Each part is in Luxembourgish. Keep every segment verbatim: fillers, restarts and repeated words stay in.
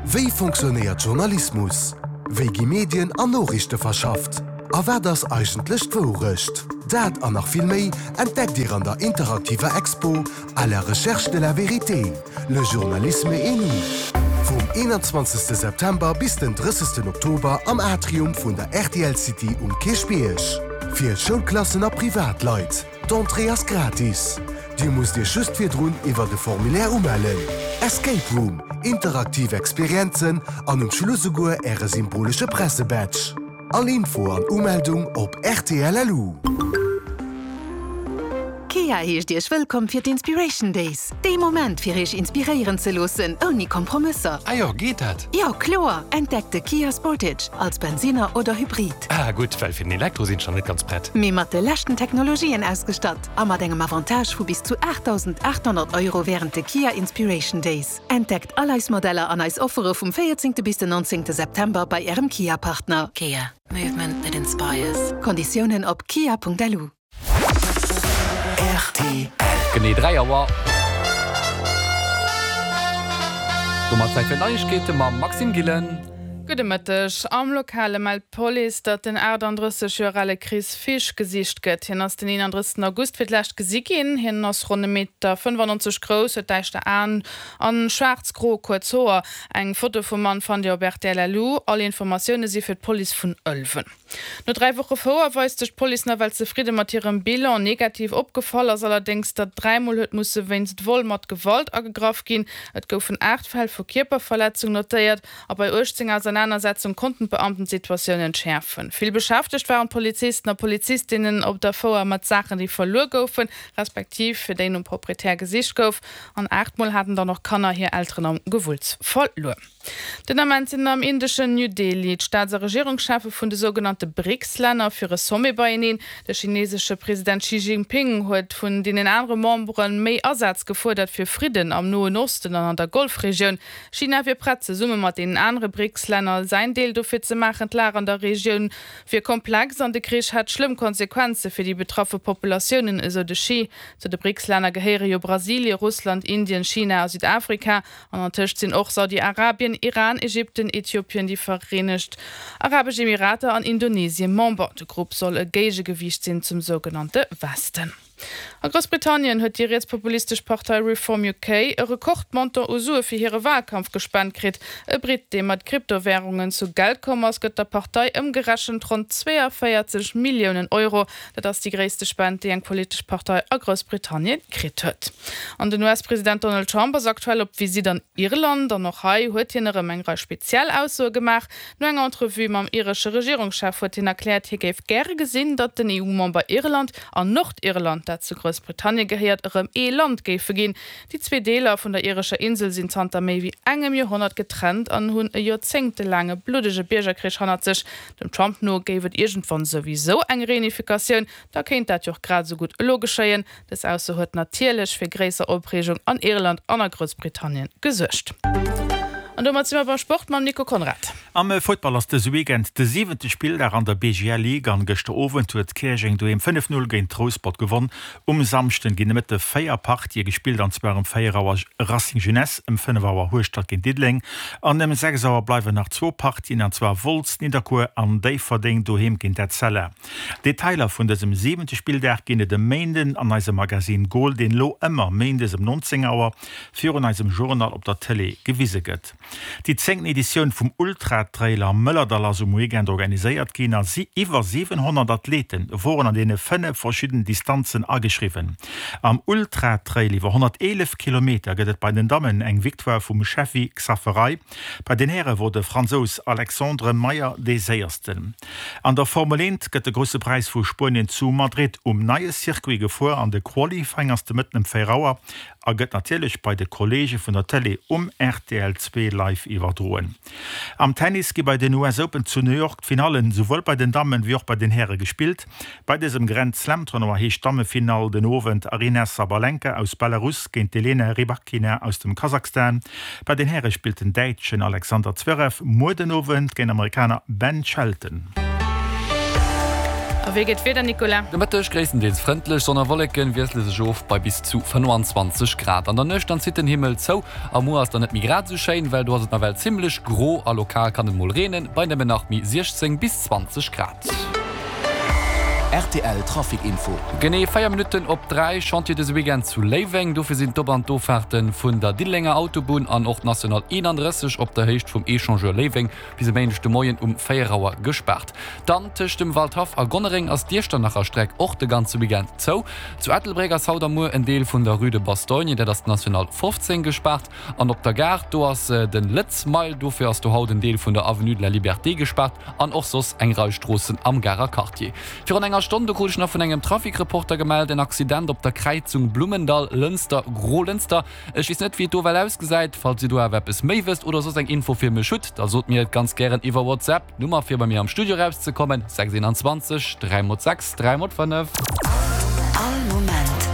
Wéi fonctionnéiert Journalismus? Wéi gi Medien an Noriichte verschafft? A wat ass eigentlech d'Wourecht? Dat an nach vill méi entdeckt Dir an der interaktiver Expo À la recherche de la vérité, le journalisme et nous. Vum eenanzwanzegste September bis den drëssegsten Oktober am Atrium vun der rtl City um Kierchbierg. Fir Schoulklassen a Privatleit. D'Entrée ass gratis. Dir musst Iech just virdrun iwwer de Formulaire umellen. Escape Room, interaktiv Experienzen an um Schluss esouguer Äre symbolesche Pressebadge. All Info an Umeldung op rtl.lu. Kia heescht Iech wëllkomm fir d'Inspiration Days. Dee Moment fir Iech inspiréieren ze loossen, ouni Kompromësser. Ah jo, geet dat? Jo, kloer! Entdeckt de Kia Sportage als Bensinner oder Hybrid. Ah gutt, well fir den Elektro sinn ech nach net ganz prett. Mee mat de leschten Technologien ausgestatt a mat engem Avantage vu bis zu aachtdausendaathonnert Euro wärend de Kia Inspiration Days. Entdeckt all eis Modeller an eis Offere vum véierzéngte bis den nonzéngte September bei Ärem Kia-Partner. Kia, movement that inspires. Konditiounen op kia.lu. Rtl. Genee dräi Auer. Domat Zäit fir d'Neiegkeete mam Maxime Gillen. Gudde Mëtteg. Am Lokale mellt d'Police, datt den achtandrësseg Joer ale Chris Fisch gesicht gëtt. Hien ass den eenandrëssegsten August fir d'lescht gesi ginn. Hien ass ronn e Meter fënnefannonzeg grouss, huet däischter Aen an schwaarz-gro kuerz Hoer. Eng Foto vum Mann fannt Dir op rtl.lu. All Informatioune si fir d'Police vun Ëlwen. No dräi Woche Fouer weist sech d'Police nawell zefridde mat hirem Bilan. Negativ opgefall ass allerdéngs, datt dräimol huet musse wéinst Vol mat Gewalt agegraff ginn. Et goufen aacht Fäll vu Kierperverletzung notéiert a bei uechtzéng Ausernanersetzung konnten d'Beamten d'Situatioun entschäerfen. Vill beschäftegt waren d'Polizisten a Polizistinnen op der Fouer mat Saachen, déi verluer goufen, respektiv fir déi nom Proprietär gesicht gouf. An aacht Mol haten dann och Kanner hir Elteren am Gewulls verluer. Den Ament sinn am indeschen New Delhi d'Staats a Regierungscheffe vun de sougenannte BRICS-Länner fir e Sommet beieneen. De chinesesche President Xi Jinping huet vun deenen anere Membere méi Asaz gefuerdert fir Fridden am Noen Osten an an der Golfregioun. China wier prett, zesumme mat deenen anere BRICS-Länner säin Deel dofir ze maachen. D'Lag an der Regioun wier komplex an de Krich hätt schlëmm Konsequenze fir déi betraffe Populatiounen, esou de Xi. Zu de BRICS-Länner gehéiere jo Brasilie, Russland, Indien, China a Südafrika. An antëscht sinn och Saudi-Arabien, Iran, Ägypten, Äthiopien, déi Vereenegt Arabesch Emirater an Indonesie Member. De Grupp soll e Géigegewiicht sinn zum sougenannte Westen. A Groussbritannien huet déi rietspopulistesch Partei Reform U K e Rekordmontant u Sue fir hire Walkampf gespent kritt. E Britt, dee mat Kryptowärungen zu Geld komm ass, gëtt der Partei ëmgerechent ronn zweeënvéierzeg Milliounen Euro. Dat ass déi gréisste Spend, déi eng politesch Partei a Groussbritannien kritt huet. An den U S-President Donald Trump ass aktuell op Visitt an Irland an och hei huet hien erëm eng Rei speziell Aussoe gemaach. No enger Entrevue mam iresche Regierungschef huet hien erkläert, hie géif gäre gesinn, datt den E U-Member Irland an Nordirland, dat zu Groussbritannien gehéiert, erëm ee Land géife ginn. Déi zwee Deeler vun der irescher Insel sinn zanter méi wéi engem Joerhonnert getrennt an hunn e joerzéngtelaange bluddege Biergerkrich hannert sech. Dem Trump no géif et iergendwann souwisou eng Reunifikatioun, da kéint dat jo och grad esou gutt elo geschéien. Dës Ausso huet natierlech fir gréisser Opreegung an Irland an a Groussbritannien gesuergt. An domat si mer beim Sport mam Nico Conrad. Am Futtball ass dëse Weekend de siwente Spilldag an der B G L Ligue an gëschter Owend huet Käerjeng doheem fënnef Null géint Rouspert gewonn. Um Samschden ginn de Mëtte véier Partië gespillt, an zwar um véier Auer Racing Jeunesse, ëm fënnef Auer Hueschtert géint Diddeleng an ëm sechs Auer bleiwen nach zwou Partien, an zwar Wolz Nidderkuer an Déifferdeng doheem géint Etzella. Detailer vun dësem siwente Spilldag ginn et e Méinden an eisem Magazine Goal, deen elo ëmmer méindes ëm nonzéng Auer virun eisem Journal op der Tëlee gewise gëtt. Déi zéngten Editioun vum Ultra-Trail am Mëllerdall ass um Weekend organiséiert ginn a si iwwer siwenhonnert Athlete woren an deene fënnef verschiddenen Distanzen ageschriwwen. Am Ultra-Trail iwwer honnerteelef Kilometer gëtt et bei den Dammen eng Victoire vum Shefi Xaferaj. Bei den Häre wor de Fransous Alexandre Meyer dee Séiersten. An der Formel eent gëtt de Grousse Präis vu Spuenien zu Madrid um neie Circuit gefuer an de Qualifying ass de Mëtten ëm véier Auer a gëtt natierlech bei de Kolleege vun der Tëlee um R T L zwee live iwwerdroen. Am Tennis gi bei den U S Open zu New York d'Finallen souwuel bei den Dammen wéi och bei den Häre gespillt. Bei dësem Grand Slam Tournoi heescht d'Dammefinall den Owend Aryna Sabalenka aus Belarus géint d'Elena Rybakina aus dem Kasachstan. Bei den Häre spillt den Däitschen Alexander Zverev muer den Owend géint Amerikaner Ben Shelton. A A wéi gëtt d'Wieder, Nicolas? De Mëtteg gréisstendeels frëndlech, Sonn a Wolleken wiessele sech of bei bis zu fënnwanzwanzeg Grad. An der Nuecht dann zitt den Himmel zou a muer ass dann net méi grad esou schéin, well do ass et nawell zimmlech gro a lokal kann et mol reenen, bei nëmmen nach méi siechzéng bis zwanzeg Grad. Rtl Trafic Info. Genee véier Minutten op dräi, Chantier dëse Weekend zu Léiweng. Dofir sinn d'Op an d'Offaarte vun der Diddelenger Autobunn an och d'National eenandrësseg op der Héicht vum Echangeur Léiweng bis e Méindeg de Moien um véier Auer gespaart. Dann tëscht dem Waldhaff a Gonnereng ass d'Iechternacher Streck och de ganze Weekend zou. Zu Ettelbréck ass haut a muer en Deel vun der Rue de Bastogne, dat ass d'National fofzéng, gespaart. An op der Gare, do ass den Lëtz Mile, dofir ass do haut en Deel vun der Avenue de la Liberté gespaart an och soss eng Rei Stroossen am Garer Quartier. Virun enger Stonn, do krut ech nach vun engem Trafic-Reporter gemellt, en Accident op der Kräizung Blummendall, Lënster, Grolënster. Ech weess net, wéi et do well ausgesäit. Falls Dir do awer eppes méi wësst oder soss eng Info fir mech hutt, da sot mir et ganz gären iwwer WhatsApp. D'Nummer fir bei mir am Studio erauszekommen, sechs eenanzwanzeg, dräi mol sechs, dräi mol fënnef. All Moment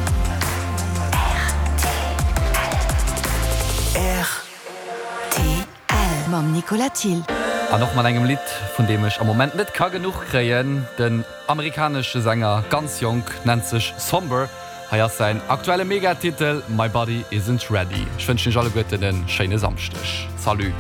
rtl. Mam Nicolas Thill. An och mat engem Lidd, vun deem ech am Moment net ka genuch kréien. Den amerikanesche Sänger, ganz jonk, nennt sech Somber. Hei ass säin aktuelle Megatitel My Body Isn't Ready. Ech wënschen iech alleguerten e schéine Samschdeg. Salut.